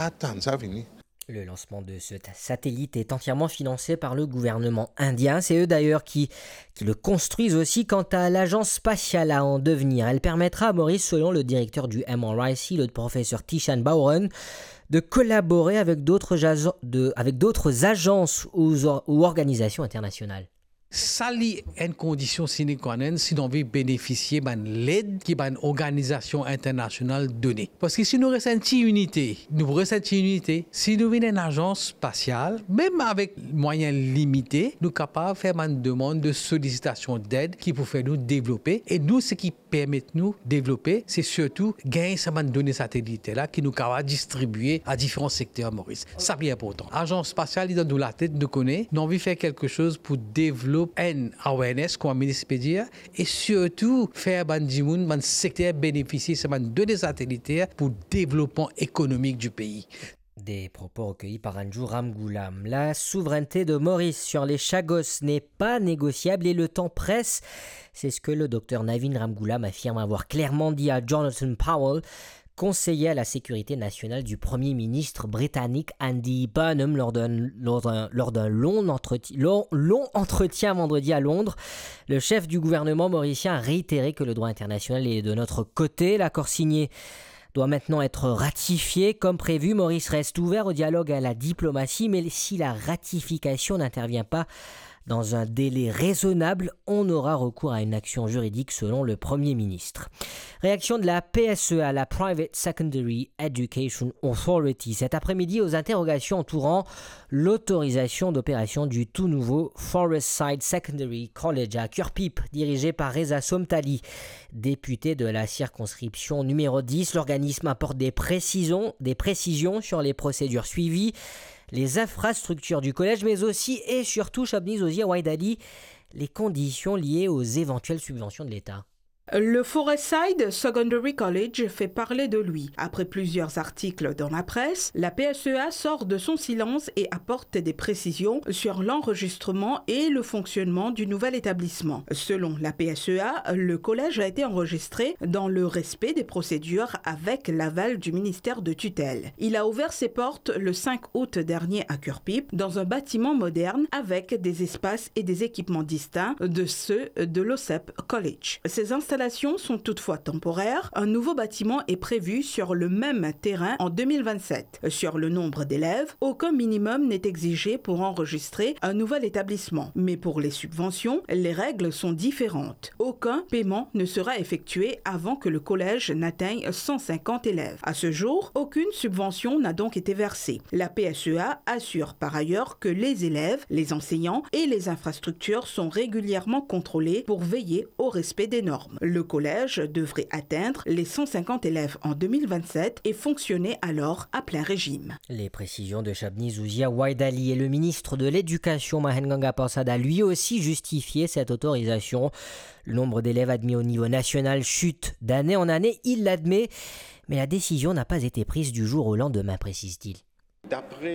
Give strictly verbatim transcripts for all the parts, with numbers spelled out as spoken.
Atann sa vini. Le lancement de ce satellite est entièrement financé par le gouvernement indien. C'est eux d'ailleurs qui, qui le construisent aussi. Quant à l'agence spatiale à en devenir, elle permettra à Maurice, selon le directeur du M R I C, le professeur Tishan Bauren, de collaborer avec d'autres agen- de- avec d'autres agences ou, or- ou organisations internationales. Sa li enn kondision sine qua non si nou anvi benefisie bann led ki bann organizasion internasional done. Parski si nou res enn ti inite, nou res enn ti inite, si nou vinn enn azans spasial, mem avek mwayin limite, nou kapav fer bann demann de solisitasion ded ki pou fer nou devlope. E nou, seki permet nou devlope, se sirtou gagn sa bann done sateliter la ki nou kapav distribie a diferan sekter Moris. Sa pli inportan. Azans spasial, li dan nou latet, nou kone, nou anvi fer kelke soz pou devlop enn awareness, kouma minis pe dir, e sirtou fer bann dimoun, bann sekter benefisie sa bann done sateliter pou devlopman ekonomik di pei. Des propos recueillis par Anju Ramgoolam. La souveraineté de Maurice sur les Chagos n'est pas négociable et le temps presse. C'est ce que le docteur Navin Ramgoolam affirme avoir clairement dit à Jonathan Powell, conseiller à la sécurité nationale du Premier ministre britannique Andy Burnham, lors d'un, lors d'un, lors d'un long, entretien, long, long entretien vendredi à Londres. Le chef du gouvernement mauricien a réitéré que le droit international est de notre côté. L'accord signé doit maintenant être ratifié. Comme prévu, Maurice reste ouvert au dialogue et à la diplomatie, mais si la ratification n'intervient pas dans un délai raisonnable, on aura recours à une action juridique, selon le Premier ministre. Réaction de la P S E A, la Private Secondary Education Authority, cet après-midi aux interrogations entourant l'autorisation d'opération du tout nouveau Forest Side Secondary College à Kirpip, dirigé par Reza Somtali, député de la circonscription numéro dix. L'organisme apporte des précisions, des précisions sur les procédures suivies, les infrastructures du collège, mais aussi et surtout, Shabnizozia Waidali, les conditions liées aux éventuelles subventions de l'État. Le Forest Side Secondary College fait parler de lui. Après plusieurs articles dans la presse, la P S E A sort de son silence et apporte des précisions sur l'enregistrement et le fonctionnement du nouvel établissement. Selon la P S E A, le collège a été enregistré dans le respect des procédures avec l'aval du ministère de tutelle. Il a ouvert ses portes le cinq août dernier à Kirpip dans un bâtiment moderne avec des espaces et des équipements distincts de ceux de l'O S E P College. Ces installations sont toutefois temporaires. Un nouveau bâtiment est prévu sur le même terrain en deux mille vingt-sept. Sur le nombre d'élèves, aucun minimum n'est exigé pour enregistrer un nouvel établissement. Mais pour les subventions, les règles sont différentes. Aucun paiement ne sera effectué avant que le collège n'atteigne cent cinquante élèves. À ce jour, aucune subvention n'a donc été versée. La P S E A assure par ailleurs que les élèves, les enseignants et les infrastructures sont régulièrement contrôlés pour veiller au respect des normes. Le collège devrait atteindre les cent cinquante élèves en deux mille vingt-sept et fonctionner alors à plein régime. Les précisions de Shabnizozia Waidali. Et le ministre de l'Éducation, Mahen Ganga Persad, a lui aussi justifié cette autorisation. Le nombre d'élèves admis au niveau national chute d'année en année, il l'admet, mais la décision n'a pas été prise du jour au lendemain, précise-t-il. Dapre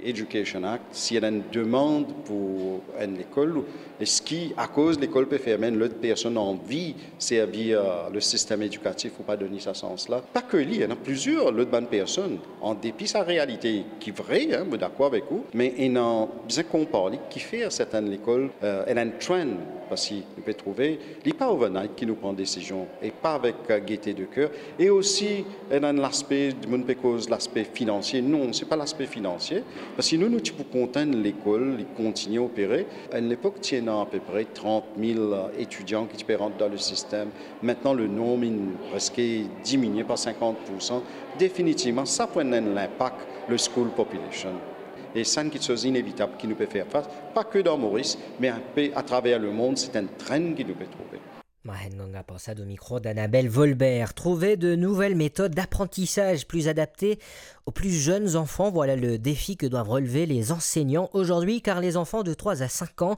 Education Act, si ena enn demann pou enn lekol, eski akoz lekol pe ferme, enn lot personn anvi servi, euh, le sistem edikatif pou pa donn li sa sans la? Pa ke li, ena plizier lot bann personn, an depi sa realite ki vre, hein, mo dakor avek ou, me ena bizin konpar li, kifer sertenn lekol, euh, ena enn trend, parski nou pe trouve, li pa overnight ki nou pran desizion, e pa avek, euh, gaieté de cœur. E osi, ena enn laspe, dimoun pe koz laspe finansie. Non, se pa laspe finansie. Parski nou, nou ti pou kontan enn lekol, li kontigne opere. A enn lepok, ti ena apepre trant mil etidian ki ti pe rant dan le sistem. Aster, le nonb inn preske diminie par sinkant poursan. Definitivman, sa pou ena enn linpak le school population. E sa enn kiksoz inevitab ki nou pe fer fas, pa ke dan Moris, me enpe atraver lemond, se enn trend ki nou pe trouve. Mahen Ganga Persad au micro d'Annabelle Volbert. Trouver de nouvelles méthodes d'apprentissage plus adaptées aux plus jeunes enfants, voilà le défi que doivent relever les enseignants aujourd'hui, car les enfants de trois à cinq ans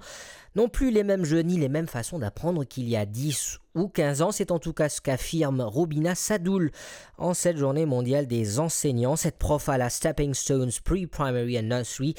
n'ont plus les mêmes jeux ni les mêmes façons d'apprendre qu'il y a dix ou quinze ans. C'est en tout cas ce qu'affirme Rubina Sadoul en cette journée mondiale des enseignants. Cette prof à la Stepping Stones Pre-Primary and Nursery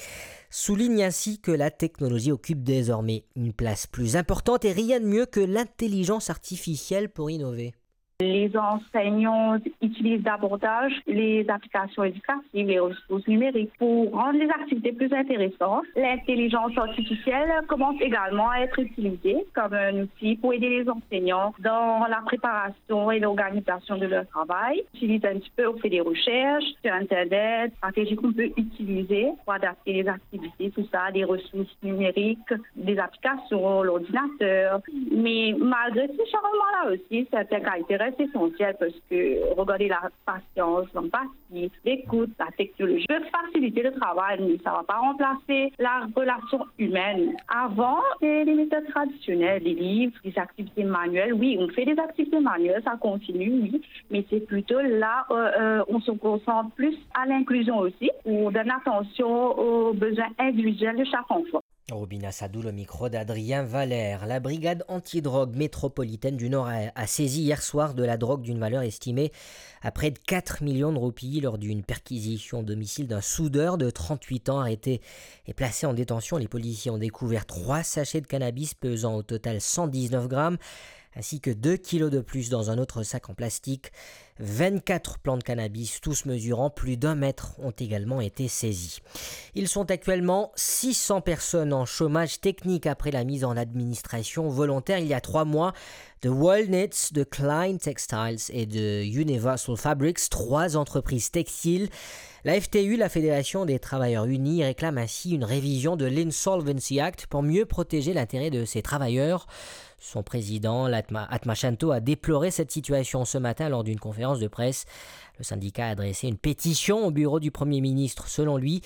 souligne ainsi que la technologie occupe désormais une place plus importante et rien de mieux que l'intelligence artificielle pour innover. Les enseignants utilisent davantage les applications éducatives, les ressources numériques pour rendre les activités plus intéressantes. L'intelligence artificielle commence également à être utilisée comme un outil pour aider les enseignants dans la préparation et l'organisation de leur travail. Ils utilisent un petit peu, on fait des recherches sur Internet, stratégies qu'on peut utiliser pour adapter les activités, tout ça, des ressources numériques, des applications, l'ordinateur. Mais malgré ces changements-là aussi, certaines qualités restent essentielles parce que, regardez, la patience, l'empathie, l'écoute, la technologie peut faciliter le travail, mais ça va pas remplacer la relation humaine. Avant, c'est les méthodes traditionnelles, les livres, les activités manuelles. Oui, on fait des activités manuelles, ça continue, oui, mais c'est plutôt là, euh, euh, on se concentre plus à l'inclusion aussi, on donne attention aux besoins individuels de chaque enfant. Robina Sadou, le micro d'Adrien Valère. La brigade antidrogue métropolitaine du Nord a, a saisi hier soir de la drogue d'une valeur estimée à près de quatre millions de roupies lors d'une perquisition au domicile d'un soudeur de trente-huit ans arrêté et placé en détention. Les policiers ont découvert trois sachets de cannabis pesant au total cent dix-neuf grammes, ainsi que deux kilos de plus dans un autre sac en plastique. Vingt-quatre plants de cannabis, tous mesurant plus d'un mètre, ont également été saisis. Ils sont actuellement six cents personnes en chômage technique après la mise en administration volontaire il y a trois mois de World Knits, de Klein Textiles et de Universal Fabrics, trois entreprises textiles. La F T U, la Fédération des Travailleurs Unis, réclame ainsi une révision de l'Insolvency Act pour mieux protéger l'intérêt de ces travailleurs. Son président, Latma-, Atma Shanto, a déploré cette situation ce matin lors d'une conférence de presse. Le syndicat a adressé une pétition au bureau du Premier ministre, selon lui,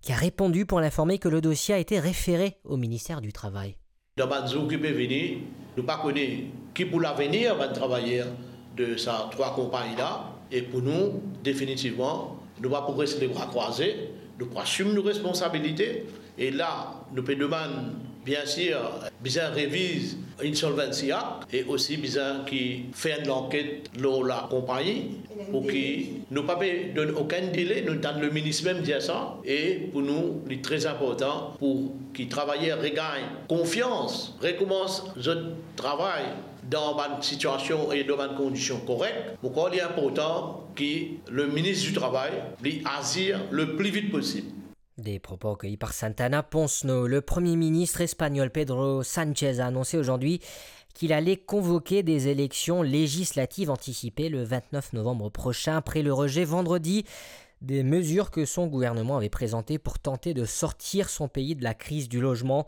qui a répondu pour l'informer que le dossier a été référé au ministère du Travail. Dan bann zour ki pe vini, nou pa kone ki pou lavenir bann travayer de sa trwa konpagni la, e pou nou, definitivman, nou pa pou res lebra krwaze, nou pou asim nou responsabilite, e la, nou pe demann, bien sir, bizin reviz Insolvency Act, e osi bizin ki fer enn lanket lor lakonpagni, pou ki nou pa pe donn okenn dele, nou tann le minis mem dir sa, e pou nou, li tre inportan pou ki travayer regagn konfians, rekoumans zot travay dan bann sitiasion e dan bann kondision korek. Mo krwar li inportan ki le minis di travay, li azir le pli vit posib. Des propos recueillis par Santana Ponsno. Le Premier ministre espagnol Pedro Sánchez a annoncé aujourd'hui qu'il allait convoquer des élections législatives anticipées le vingt-neuf novembre prochain après le rejet vendredi des mesures que son gouvernement avait présentées pour tenter de sortir son pays de la crise du logement.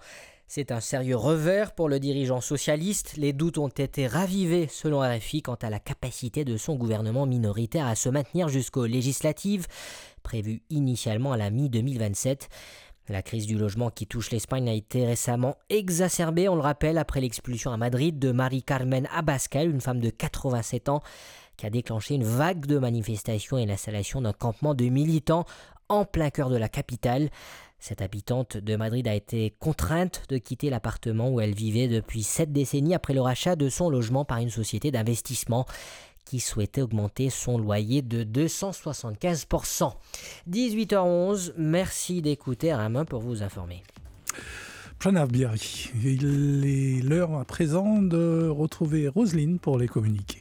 C'est un sérieux revers pour le dirigeant socialiste. Les doutes ont été ravivés, selon R F I, quant à la capacité de son gouvernement minoritaire à se maintenir jusqu'aux législatives, prévues initialement à la mi-deux mille vingt-sept. La crise du logement qui touche l'Espagne a été récemment exacerbée, on le rappelle, après l'expulsion à Madrid de Mari Carmen Abascal, une femme de quatre-vingt-sept ans, qui a déclenché une vague de manifestations et l'installation d'un campement de militants en plein cœur de la capitale. Cette habitante de Madrid a été contrainte de quitter l'appartement où elle vivait depuis sept décennies après le rachat de son logement par une société d'investissement qui souhaitait augmenter son loyer de deux cent soixante-quinze pour cent. Dix-huit heures onze, merci d'écouter R M un pour vous informer. Pranav Biari, il est l'heure à présent de retrouver Roselyne pour les communiqués.